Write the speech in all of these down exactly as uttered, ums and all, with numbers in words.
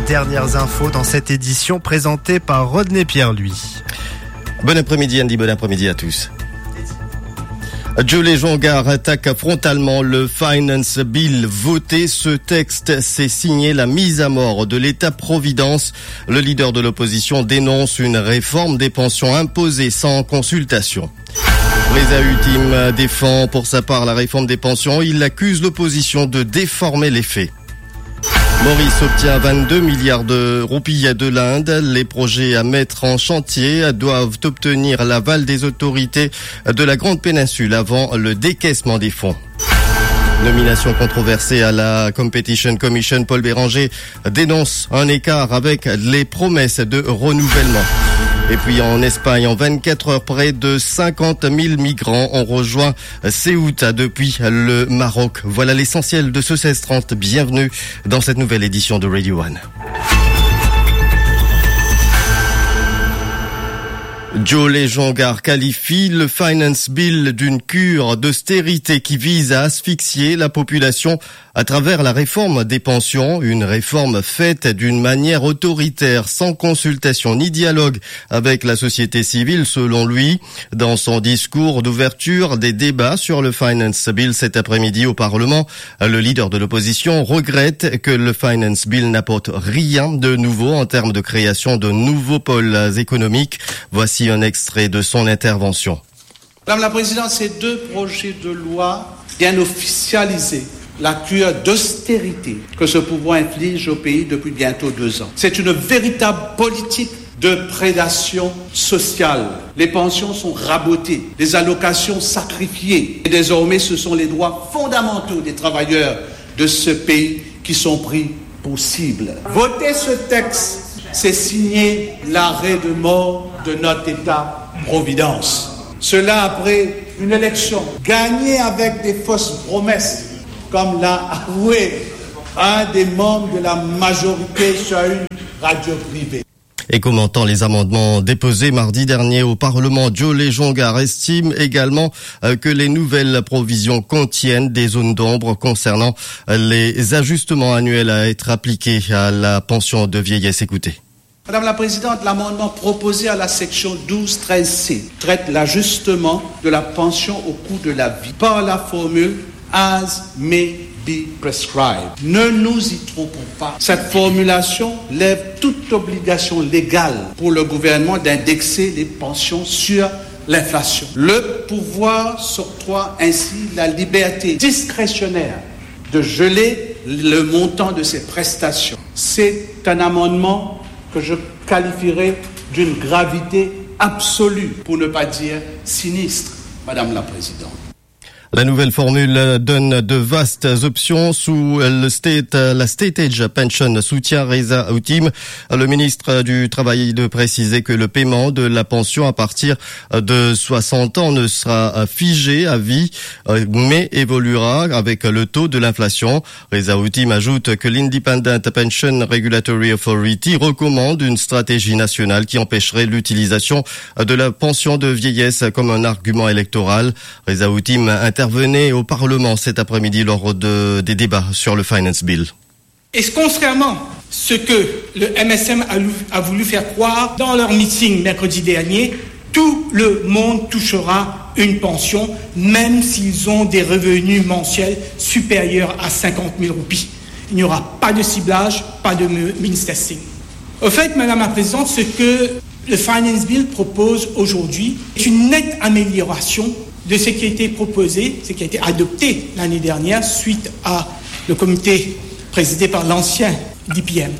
Dernières infos dans cette édition présentée par Rodney Pierre-Louis. Bon après-midi, Andy. Bon après-midi à tous. Joe Lejongar attaque frontalement le Finance Bill voté. Ce texte, c'est signé la mise à mort de l'État-providence. Le leader de l'opposition dénonce une réforme des pensions imposée sans consultation. Reza Hutim défend pour sa part la réforme des pensions. Il accuse l'opposition de déformer les faits. Maurice obtient vingt-deux milliards de roupies de l'Inde. Les projets à mettre en chantier doivent obtenir l'aval des autorités de la Grande Péninsule avant le décaissement des fonds. Nomination controversée à la Competition Commission, Paul Bérenger dénonce un écart avec les promesses de renouvellement. Et puis en Espagne, en vingt-quatre heures, près de cinquante mille migrants ont rejoint Ceuta depuis le Maroc. Voilà l'essentiel de ce seize trente. Bienvenue dans cette nouvelle édition de Radio One. Joe Lejongar qualifie le Finance Bill d'une cure d'austérité qui vise à asphyxier la population à travers la réforme des pensions, une réforme faite d'une manière autoritaire, sans consultation ni dialogue avec la société civile, selon lui. Dans son discours d'ouverture des débats sur le Finance Bill cet après-midi au Parlement, le leader de l'opposition regrette que le Finance Bill n'apporte rien de nouveau en termes de création de nouveaux pôles économiques. Voici un extrait de son intervention. Madame la Présidente, ces deux projets de loi viennent officialiser la cure d'austérité que ce pouvoir inflige au pays depuis bientôt deux ans. C'est une véritable politique de prédation sociale. Les pensions sont rabotées, les allocations sacrifiées. Et désormais, ce sont les droits fondamentaux des travailleurs de ce pays qui sont pris pour cible. Voter ce texte, c'est signer l'arrêt de mort de notre État-providence. Cela après une élection gagnée avec des fausses promesses, comme l'a avoué un des membres de la majorité sur une radio privée. Et commentant les amendements déposés mardi dernier au Parlement, Joe Lejongar estime également, euh, que les nouvelles provisions contiennent des zones d'ombre concernant, euh, les ajustements annuels à être appliqués à la pension de vieillesse. Écoutez. Madame la Présidente, l'amendement proposé à la section douze treize C traite l'ajustement de la pension au coût de la vie par la formule as may be prescribed. Ne nous y trompons pas. Cette formulation lève toute obligation légale pour le gouvernement d'indexer les pensions sur l'inflation. Le pouvoir s'octroie ainsi la liberté discrétionnaire de geler le montant de ces prestations. C'est un amendement que je qualifierais d'une gravité absolue, pour ne pas dire sinistre, Madame la Présidente. La nouvelle formule donne de vastes options sous le state, la State Age Pension, soutient Reza Hutim. Le ministre du Travail de préciser que le paiement de la pension à partir de soixante ans ne sera figé à vie, mais évoluera avec le taux de l'inflation. Reza Hutim ajoute que l'Independent Pension Regulatory Authority recommande une stratégie nationale qui empêcherait l'utilisation de la pension de vieillesse comme un argument électoral. Reza Hutim intervenait au Parlement cet après-midi lors de, des débats sur le Finance Bill. Et contrairement à ce que le M S M a, lou- a voulu faire croire dans leur meeting mercredi dernier, tout le monde touchera une pension, même s'ils ont des revenus mensuels supérieurs à cinquante mille roupies. Il n'y aura pas de ciblage, pas de mi- means testing. Au fait, Madame la Présidente, ce que le Finance Bill propose aujourd'hui est une nette amélioration de ce qui a été proposé, ce qui a été adopté l'année dernière suite à le comité présidé par l'ancien D P M.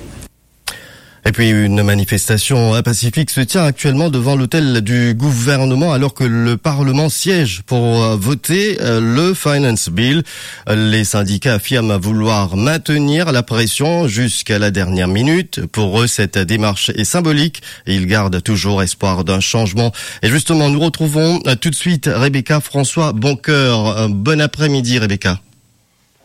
Et puis, une manifestation, euh, pacifique se tient actuellement devant l'hôtel du gouvernement alors que le Parlement siège pour, euh, voter, euh, le Finance Bill. Les syndicats affirment vouloir maintenir la pression jusqu'à la dernière minute. Pour eux, cette démarche est symbolique et ils gardent toujours espoir d'un changement. Et justement, nous retrouvons, euh, tout de suite Rebecca François Boncoeur. Euh, bon après-midi, Rebecca.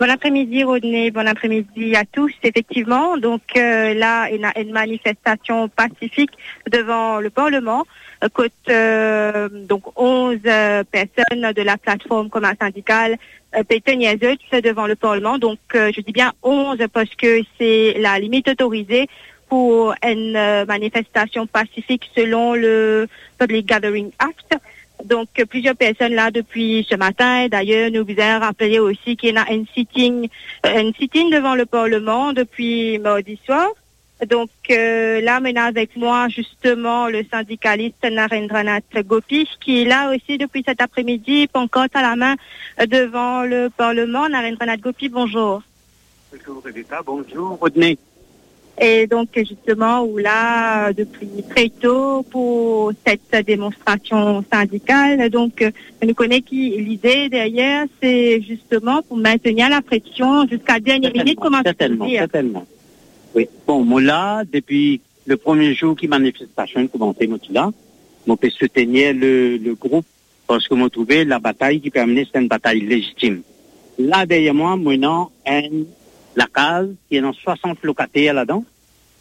Bon après-midi, Rodney. Bon après-midi à tous. Effectivement, donc, euh, là, il y a une manifestation pacifique devant le Parlement, euh, kot, euh, donc onze, euh, personnes de la plateforme commun syndicale, euh, pe tenir zot devan le Parlement. Donc, euh, je dis bien onze parce que c'est la limite autorisée pour une, euh, manifestation pacifique selon le Public Gathering Act. Donc, euh, plusieurs personnes là depuis ce matin. D'ailleurs, nous vous rappeler aussi qu'il y a un sitting, euh, un sitting devant le Parlement depuis mardi soir. Donc, euh, là, maintenant avec moi, justement, le syndicaliste Narendranath Gopi, qui est là aussi depuis cet après-midi, pancarte à la main, euh, devant le Parlement. Narendranath Gopi, bonjour. Bonjour, Rebecca. Bonjour, Rodney. Et donc, justement, ou là, euh, depuis très tôt pour cette démonstration syndicale. Donc, euh, nous connaît qui l'idée derrière, c'est justement pour maintenir la pression jusqu'à la dernière minute, comment tu peux le dire ? Certainement. Oui. Bon, mo la, depi le premie zour ki manifestasion koumanse, mo ti la, mo pe soutenir le, le group, parski mo trouve labatay ki pe amenn se enn batay lezitim. La, deryer mwa, mo ena enn lakaz ki ena swasant lokater ladan,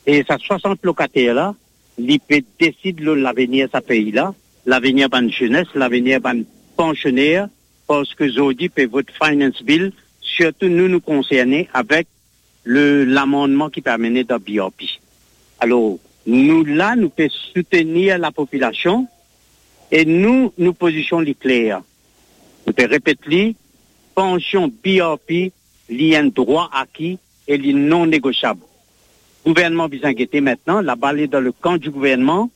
e sa swasant lokater la, li pe desid lor lavenir sa pei la, lavenir bann zenes, lavenir bann pansioner, parski zordi pe vot Finance Bill, sirtou nou, nou konserne avek le, lamannman ki pe amene dan B R P. Alor, nou la, nou pe soutenir lapopilasion e nou, nou pozision li kler. Nou pe repet li, pansion B R P, li enn drwa aki e li non negosiab. Gouvernman bizin gete aster, labal li dan le kan di gouvernman.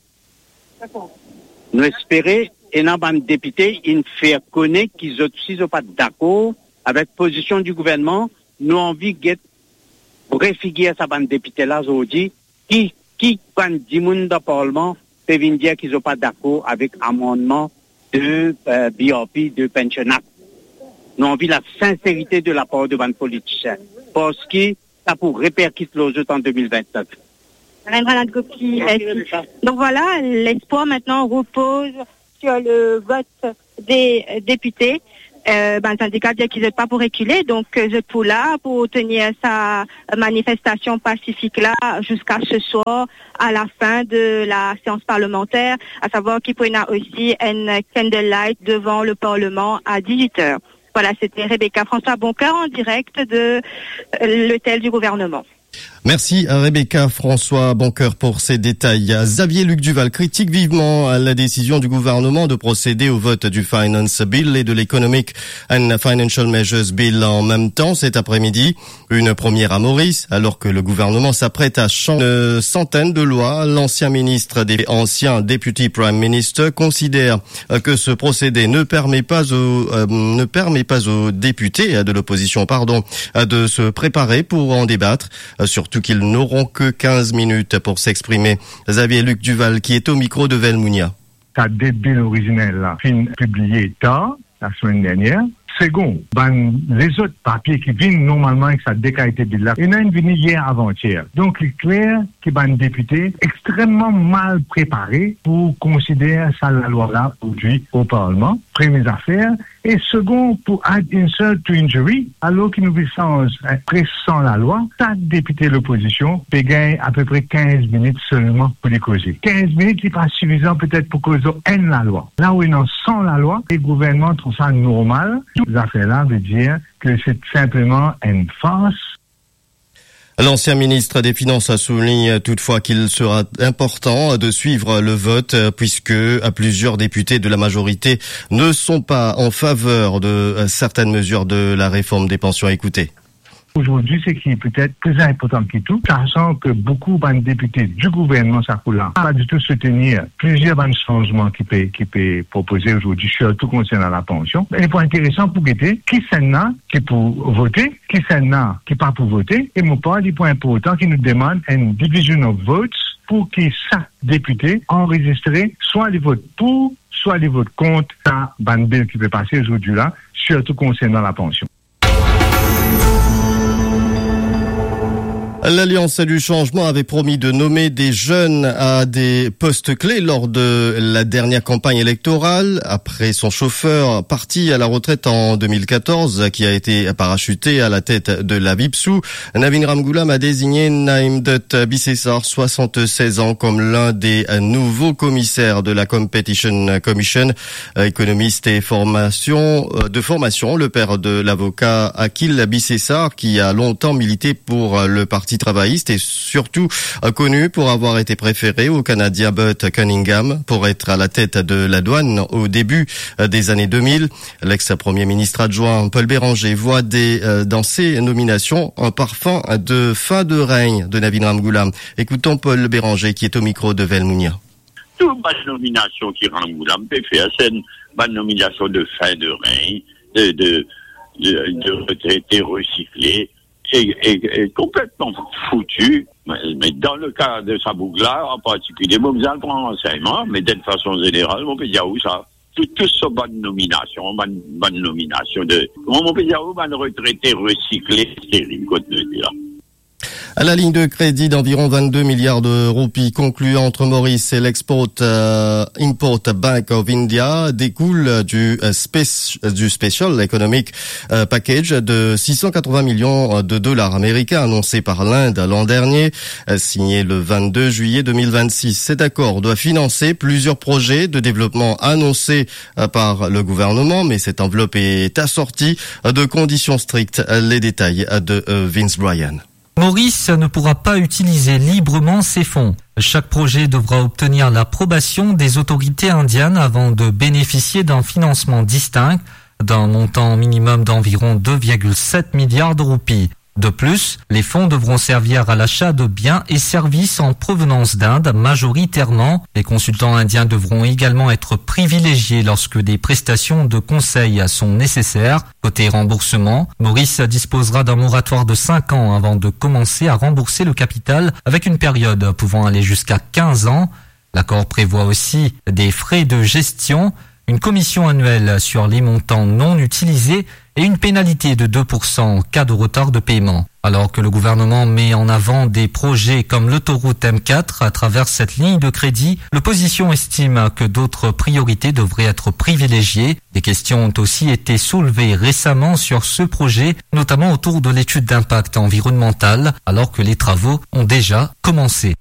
Nou espere ena bann depite inn fer kone ki zot osi zot pa dakor avek pozision di gouvernman. Nou anvi get vre figir sa bann depite la zordi, ki, ki bann dimoun dan parlman pe vinn dir ki zot pa dakor avek amannman de, euh, B R P, de Pension Act. Nou anvi lasinserite de lapar de bann politisien, parski sa pou reperkit lor zot an de mil vintnef. Narendranath Gopi, euh, donc voilà, l'espoir maintenant repose sur le vote des, euh, députés. Euh, ben, le syndicat dit qu'ils n'ont pas pour reculer, donc, euh, je suis là pour tenir sa manifestation pacifique là jusqu'à ce soir, à la fin de la séance parlementaire, à savoir qu'il y a aussi un candlelight devant le Parlement à dix-huit heures. Voilà, c'était Rebecca François Boncoeur en direct de, euh, l'hôtel du gouvernement. Merci à Rebecca François Boncoeur pour ces détails. Xavier Luc Duval critique vivement la décision du gouvernement de procéder au vote du Finance Bill et de l'Economic and Financial Measures Bill en même temps cet après-midi. Une première à Maurice, alors que le gouvernement s'apprête à changer une centaine de lois. L'ancien ministre et ancien Deputy Prime Minister considère, euh, que ce procédé ne permet pas aux, euh, ne permet pas aux députés, euh, de l'opposition, pardon, euh, de se préparer pour en débattre, euh, surtout qu'ils n'auront que quinze minutes pour s'exprimer. Xavier Luc Duval, qui est au micro de Velmounia. Sa de bil orizinel la finn pibliye tar, lasemenn dernier. Segon, bann lezot papie ki vinn normalman avek sa de kalite bil la, ena inn vini yer avantier. Donk, li kler ki bann depite extrememan mal prepare pou konsider sa lalwa la prodwi o Parlman, premie zafer. E segon, pou add insult to injury, alor ki nou pe sanz, eh, pres san lalwa, sak depite lopozision pe gagn apepre kinz minit selman pou li koze. Kinz minit, li pa sifizan petet pou koz enn lalwa. La ou ena san lalwa, e gouvernman trouv sa normal, zafer la ve dir ke se sinpleman enn fars. L'ancien ministre des Finances a souligné toutefois qu'il sera important de suivre le vote, euh, puisque, euh, plusieurs députés de la majorité ne sont pas en faveur de, euh, certaines mesures de la réforme des pensions. Écoutez. Aujourd'hui, ce qui est peut-être plus important que tout, sachant que beaucoup de députés du gouvernement, sa kou la, pa ditou soutenir plizier bann sanzman ki pe, ki pe propoze azordi, sirtou konsern lapansion. E pou interesan pou gete, kisann la ki pou vote, kisann la ki pa pou vote, e mo par li pou inportan ki nou demann enn division of votes pou ki sak depite anrezistre, swa li vot pou, swa li vot kont sa bann bil ki pe pase azordi la, sirtou konsern lapansion. L'Alliance du Changement avait promis de nommer des jeunes à des postes clés lors de la dernière campagne électorale. Après son chauffeur parti à la retraite en deux mille quatorze, qui a été parachuté à la tête de la VIPSU, Navin Ramgoolam a désigné Naimdut Bisesar, soixante-seize ans, comme l'un des nouveaux commissaires de la Competition Commission. Économiste et formation, euh, de formation, le père de l'avocat Akil Bisesar, qui a longtemps milité pour, euh, le parti travailliste et surtout, euh, connu pour avoir été préféré au Canadien Burt Cunningham pour être à la tête de la douane au début, euh, des années deux mille. L'ex-premier ministre adjoint Paul Bérenger voit des, euh, dans ces nominations un parfum de fin de règne de Navin Ramgoolam. Écoutons Paul Bérenger qui est au micro de Velmounia. Tou bann nominasion ki Ramgoolam pe fer, se enn bann nominasion de fin de règne, de, de, de, de retrete resikle, e, e, e konpletman fouti. Me, me dan le ka de sa boug la, an partikilie, mo bizin al pran ransegnman, me de fason zeneral, mo pe dir ou sa. Tou, tou so bann nominasion, bann, bann nominasion de, kouma mo pe dir ou, bann retrete resikle, steril, kot nou ete la. La ligne de crédit d'environ vingt-deux milliards de roupies conclue entre Maurice et l'Export, euh, Import Bank of India découle du, euh, spéc-, du Special Economic, euh, Package de six cent quatre-vingts millions de dollars américains annoncé par l'Inde l'an dernier, euh, signé le vingt-deux juillet deux mille vingt-six. Cet accord doit financer plusieurs projets de développement annoncés, euh, par le gouvernement, mais cette enveloppe est assortie, euh, de conditions strictes. Les détails, euh, de, euh, Vince Bryan. Maurice ne pourra pas utiliser librement ces fonds. Chaque projet devra obtenir l'approbation des autorités indiennes avant de bénéficier d'un financement distinct, d'un montant minimum d'environ deux virgule sept milliards de roupies. De plus, les fonds devront servir à l'achat de biens et services en provenance d'Inde majoritairement. Les consultants indiens devront également être privilégiés lorsque des prestations de conseil sont nécessaires. Côté remboursement, Maurice disposera d'un moratoire de cinq ans avant de commencer à rembourser le capital, avec une période pouvant aller jusqu'à quinze ans. L'accord prévoit aussi des frais de gestion, une commission annuelle sur les montants non utilisés et une pénalité de deux pour cent en cas de retard de paiement. Alors que le gouvernement met en avant des projets comme l'autoroute M quatre à travers cette ligne de crédit, l'opposition estime que d'autres priorités devraient être privilégiées. Des questions ont aussi été soulevées récemment sur ce projet, notamment autour de l'étude d'impact environnemental, alors que les travaux ont déjà commencé.